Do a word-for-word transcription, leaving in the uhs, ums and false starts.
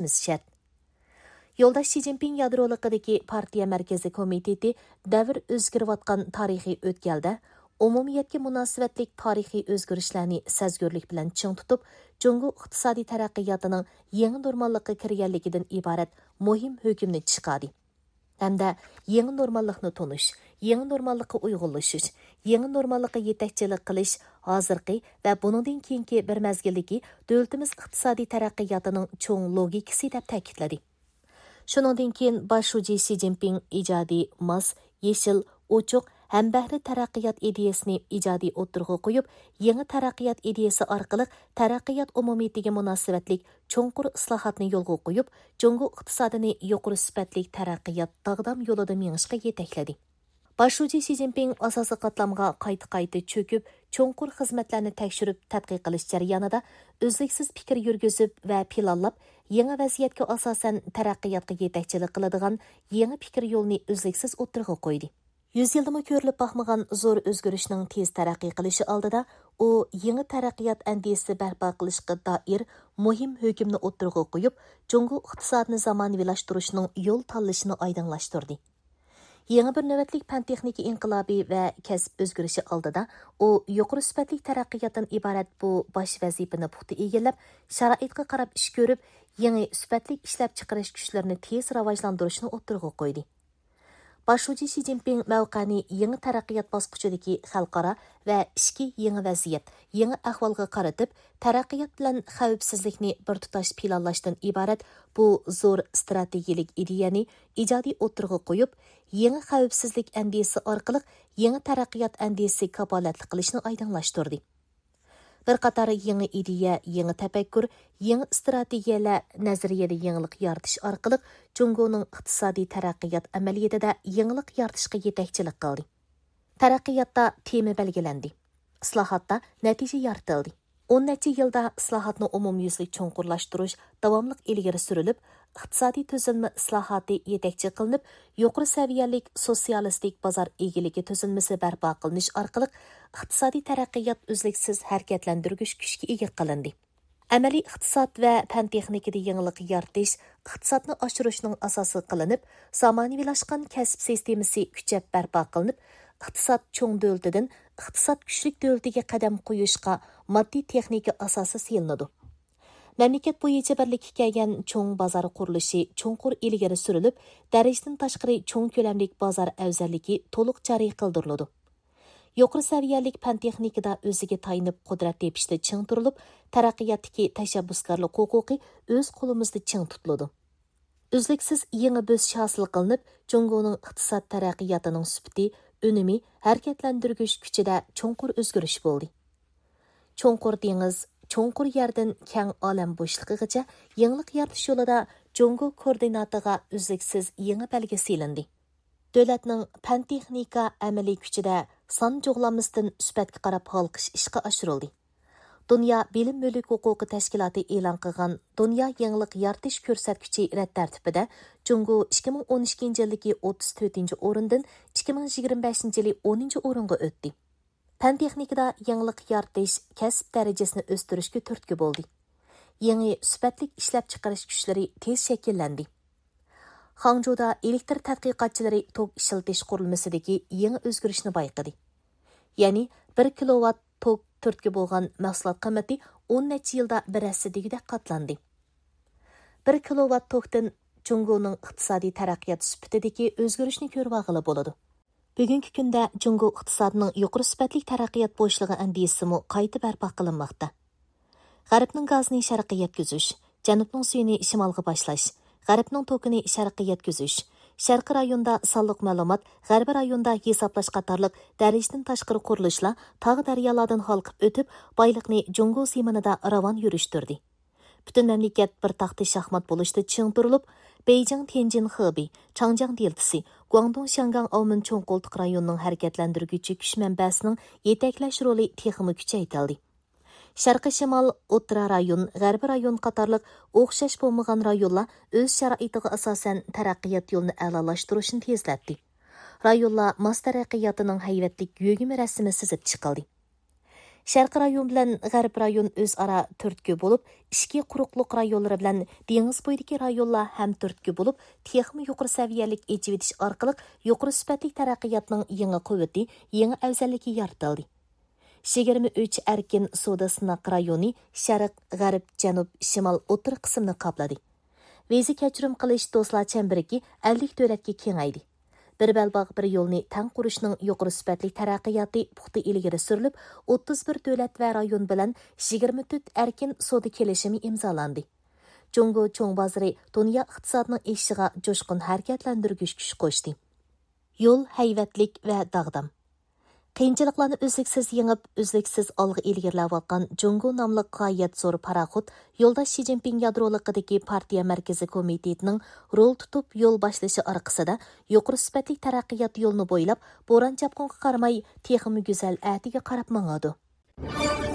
قىلىشىمىز شەرت. يولداش شى جىنپىڭ يادرولۇقىدىكى پارتىيە مەركىزىي كومىتېتى دەۋر ئۆزگىرىۋاتقان تارىخىي ئۆتكەلدە ئومۇمىيەتكە مۇناسىۋەتلىك تارىخىي ئۆزگىرىشلەرنى سەزگۈرلۈك بىلەن چىڭ تۇتۇپ، جۇڭگو ئىقتىسادىي تەرەققىياتىنىڭ يېڭى نورماللىققا كىرگەنلىكىدىن ئىبارەت مۇھىم ھۆكۈمنى چىقاردى ھەمدە يېڭى نورماللىقنى تونۇش، يېڭى نورماللىققا ئۇيغۇنلىشىش، يېڭى نورماللىققا يېتەكچىلىك قىلىش ھازىرقى ۋە بۇنىڭدىن كېيىنكى بىر مەزگىلدىكى دۆلىتىمىز ئىقتىسادىي تەرەققىياتىنىڭ چوڭ لوگىكىسى دەپ تەكىتلىدى. شۇنىڭدىن كېيىن باش شۇجى شى جىنپىڭ ئىجادىي، ماس، يېشىل، ئوچۇق، ھەمبەھرە تەرەققىيات ئىدىيەسىنى ئىجادىي ئوتتۇرىغا قويۇپ، يېڭى تەرەققىيات ئىدىيەسى ئارقىلىق تەرەققىيات ئومۇمىيىتىگە مۇناسىۋەتلىك چوڭقۇر ئىسلاھاتنى يولغا قويۇپ، جۇڭگو ئىقتىسادىنى يۇقىرى سۈپەتلىك تەرەققىيات داغدام يولىدا مېڭىشقا يېتەكلىدى. باش شۇجى شى جىنپىڭ ئاساسىي قاتلامغا قايتا-قايتا چۆكۈپ، چوڭقۇر خىزمەتلەرنى تەكشۈرۈپ تەتقىق قىلىش جەريانىدا ئۈزلۈكسىز پىكىر يۈرگۈزۈپ ۋە پىلانلاپ، يېڭى ۋەزىيەتكە ئاساسەن تەرەققىياتقا يېتەكچىلىك قىلىدىغان يېڭى پىكىر يولىنى ئۈزلۈكسىز ئوتتۇرىغا قويدى. يۈز يىلدىمۇ كۆرۈلۈپ باقمىغان زور ئۆزگىرىشنىڭ تېز تەرەققىي قىلىشى ئالدىدا، ئۇ يېڭى تەرەققىيات ئەندىزىسى بەرپا قىلىشقا دائىر مۇھىم ھۆكۈمنى ئوتتۇرىغا قويۇپ، جۇڭگو ئىقتىسادىنى زامانىۋىلاشتۇرۇشنىڭ يول تاللىشىنى ئايدىڭلاشتۇردى. يېڭى بىر نۆۋەتلىك پەن-تېخنىكا ئىنقىلابى ۋە كەسىپ ئۆزگىرىشى ئالدىدا، ئۇ يۇقىرى سۈپەتلىك تەرەققىياتتىن ئىبارەت بۇ باش ۋەزىپىنى پۇختا ئىگىلەپ، شارائىتقا قاراپ ئىش كۆرۈپ، يېڭى سۈپەتلىك ئىشلەپچىقىرىش كۈچلىرىنى تېز راۋاجلاندۇرۇشنى ئوتتۇرىغا قويدى. باش شۇجى شى جىنپىڭ مەۋقەنى يېڭى تەرەققىيات باسقۇچىدىكى خەلقئارا ۋە ئىچكى يېڭى ۋەزىيەت، يېڭى ئەھۋالغا قارىتىپ، تەرەققىيات بىلەن خەۋپسىزلىكنى بىر تۇتاش پىلانلاشتىن ئىبارەت بۇ زور ئىستراتېگىيەلىك ئىدىيەنى ئىجادىي ئوتتۇرىغا قويۇپ، يېڭى خەۋپسىزلىك ئەندىزىسى ئارقىلىق يېڭى تەرەققىيات ئەندىزىسىگە كاپالەتلىك قىلىشنى ئايدىڭلاشتۇردى. بىر قاتار يېڭى ئىدىيە، يېڭى تەپەككۇر، يېڭى ئىستراتېگىيەلەر، نەزەرىيەدە يېڭىلىق يارىتىش ئارقىلىق جۇڭگونىڭ ئىقتىسادىي تەرەققىيات ئەمەلىيىتىدە يېڭىلىق يارىتىشقا يېتەكچىلىك قىلدى. تەرەققىياتتا تېما بەلگىلەندى. ئىسلاھاتتا نەتىجە يارىتىلدى. ئون نەچچە يىلدا ئىسلاھاتنى ئومۇميۈزلۈك چوڭقۇرلاشتۇرۇش داۋاملىق ئىلگىرى سۈرۈلۈپ، ئىقتىسادىي تۈزۈلمە ئىسلاھاتى يېتەكچى قىلىنىپ، يۇقىرى سەۋىيەلىك سوتسىيالىستىك بازار ئىگىلىكى تۈزۈلمىسى بەرپا قىلىنىش ئارقىلىق ئىقتىسادىي تەرەققىيات ئۈزلۈكسىز ھەرىكەتلەندۈرگۈچ كۈچكە ئىگە قىلىندى. ئەمەلىي ئىقتىساد ۋە پەن تېخنىكىدا يېڭىلىق يارىتىش ئىقتىسادنى ئاشۇرۇشنىڭ ئاساسى قىلىنىپ، زامانىۋىلاشقان كەسىپ سىستېمىسى كۈچەپ بەرپا قىلىنىپ، ئىقتىساد چوڭ دۆلىتىدىن ئىقتىساد كۈچلۈك دۆلىتىگە قەدەم قويۇشقا ماددىي تېخنىكا ئاساسى سېلىنىدۇ. مەملىكەت بويىچە بىرلىككە كەلگەن چوڭ بازار قۇرۇلۇشى چوڭقۇر ئىلگىرى سۈرۈلۈپ، دەرىجىدىن تاشقىرى چوڭ كۆلەملىك بازار ئەۋزەللىكى تولۇق جارى قىلدۇرۇلىدۇ. يۇقىرى سەۋىيەلىك پەن تېخنىكىدا ئۆزىگە تايىنىپ قۇدرەت تېپىشتا چىڭ تۇرۇلۇپ، تەرەققىياتتىكى تەشەببۇسكارلىق ھوقۇقى ئۆز قولىمىزدا چىڭ تۇتۇلىدۇ. ئۈزلۈكسىز يېڭى بۆسۈش ھاسىل قىلىنىپ، جۇڭگونىڭ ئىقتىساد تەرەققىياتىنىڭ سۈپىتى، ئۈنۈمى، ھەرىكەتلەندۈرگۈچ كۈچىدە چوڭقۇر ئۆزگىرىش بولدى. چوڭقۇر دېڭىز، چوڭقۇر يەردىن كەڭ ئالەم بوشلۇقىغىچە يېڭىلىق يارىتىش يولىدا جۇڭگو كوئوردىناتىغا ئۈزلۈكسىز يېڭى بەلگە سېلىندى. دۆلەتنىڭ پەن-تېخنىكا ئەمەلىي كۈچىدە سان جۇغلانمىسىدىن سۈپەتكە قاراپ ھالقىش ئىشقا ئاشۇرۇلدى. دۇنيا بىلىم مۈلۈك ھوقۇقى تەشكىلاتى ئېلان قىلغان دۇنيا يېڭىلىق يارىتىش كۆرسەتكۈچى رەت تەرتىپىدە جۇڭگو ئىككى مىڭ ئون ئىككىنچى يىلدىكى ئوتتۇز تۆتىنچى ئورۇندىن ئىككى مىڭ يىگىرمە بەشىنچى يىلى ئونىنچى ئورۇنغا ئۆتتى. پەن تېخنىكىدا يېڭىلىق يارىتىش كەسىپ دەرىجىسىنى ئۆستۈرۈشكە تۈرتكە بولدى. يېڭى سۈپەتلىك ئىشلەپچىقىرىش كۈچلىرى تېز شەكىللەندى. خاڭجۇدا ئېلېكتر تەتقىقاتچىلىرى توك ئىشلىتىش قۇرۇلمىسىدىكى يېڭى ئۆزگىرىشنى بايقىدى. يەنى بىر كىلوۋات توك تۈرتكە بولغان مەھسۇلات قىممىتى ئون نەچچە يىلدا بىر ھەسسە دېگۈدەك قاتلاندى. بىر كىلوۋات توكتىن جۇڭگونىڭ ئىقتىسادىي تەرەققىيات سۈپىتىدىكى ئۆزگىرىشنى كۆرۈۋالغىلى بولىدۇ. بۈگۈنكى كۈندە جۇڭگو ئىقتىسادىنىڭ يۇقىرى سۈپەتلىك تەرەققىيات بوشلۇقى ئەندىزىسىمۇ قايتا بەرپا قىلىنماقتا. غەربنىڭ گازىنى شەرققە يەتكۈزۈش، جەنۇبنىڭ سۈيىنى شىمالغا باشلاش، غەربنىڭ توكىنى شەرققە يەتكۈزۈش، شەرقىي رايوندا سانلىق مەلۇمات، غەربىي رايوندا ھېسابلاش قاتارلىق دەرىجىدىن تاشقىرى قۇرۇلۇشلار تاغ دەريالاردىن ھالقىپ ئۆتۈپ، بايلىقنى جۇڭگو زېمىنىدا راۋان يۈرۈشتۈردى. پۈتۈن مەملىكەت بىر تاختا شاھمات بولۇشتا چىڭ تۇرۇلۇپ، بېيجىڭ تيەنجىن خېبېي، چاڭجياڭ دېلتىسى، گۇاڭدۇڭ شياڭگاڭ ئاۋمېن چوڭ قولتۇق رايونىنىڭ ھەرىكەتلەندۈرگۈچى كۈچ مەنبەسىنىڭ يېتەكلەش رولى تېخىمۇ كۈچەيتىلدى. شەرقىي شىمال، ئوتتۇرا رايون، غەربىي رايون قاتارلىق ئوخشاش بولمىغان رايونلار ئۆز شارائىتىغا ئاساسەن تەرەققىيات يولىنى ئەلالاشتۇرۇشنى تېزلەتتى. رايونلار ماس تەرەققىياتىنىڭ ھەيۋەتلىك يۆگىمە رەسىمى سىزىپ چىقىلدى. شەرقىي رايون بىلەن غەرب رايون ئۆزئارا تۈرتكە بولۇپ، ئىچكى قۇرۇقلۇق رايونلىرى بىلەن دېڭىز بويىدىكى رايونلار ھەم تۈرتكە بولۇپ، تېخىمۇ يۇقىرى سەۋىيەلىك ئېچىۋېتىش ئارقىلىق يۇقىرى سۈپەتلىك تەرەققىياتنىڭ يېڭى قۇۋۋىتى، يېڭى ئەۋزەللىكى يارىتىلدى. يىگىرمە ئۈچ ئەركىن سودا سىناق رايونى شەرق، غەرب، جەنۇب، شىمال، ئوتتۇرا قىسىمنى قاپلىدى. ۋىزا كەچۈرۈم قىلىش دوستلار چەمبىرىكى ئەللىك دۆلەتكە كېڭەيدى. بىر بەلباغ، بىر يولنى تەڭ قۇرۇشنىڭ يۇقىرى سۈپەتلىك تەرەققىياتى پۇختا ئىلگىرى سۈرۈلۈپ، ئوتتۇز بىر دۆلەت ۋە رايون بىلەن يىگىرمە تۆت ئەركىن سودا كېلىشىمى ئىمزالاندى. جۇڭگو چوڭ بازىرى دۇنيا ئىقتىسادىنىڭ ئېشىشىغا جۇشقۇن ھەرىكەتلەندۈرگۈچ كۈچ قوشتى. يول ھەيۋەتلىك ۋە داغدام. قىيىنچىلىقلارنى ئۈزلۈكسىز يېڭىپ، ئۈزلۈكسىز ئالغا ئىلگىرىلەۋاتقان جۇڭگو ناملىق غايەت زور پاراخوت يولداش شى جىنپىڭ يادرولۇقىدىكى پارتىيە مەركىزىي كومىتېتىنىڭ رول تۇتۇپ يول باشلىشى ئارقىسىدا، يۇقىرى سۈپەتلىك تەرەققىيات يولىنى بويلاپ، بوران-چاپقۇنغا قارىماي، تېخىمۇ گۈزەل ئەتىگە قاراپ ماڭىدۇ.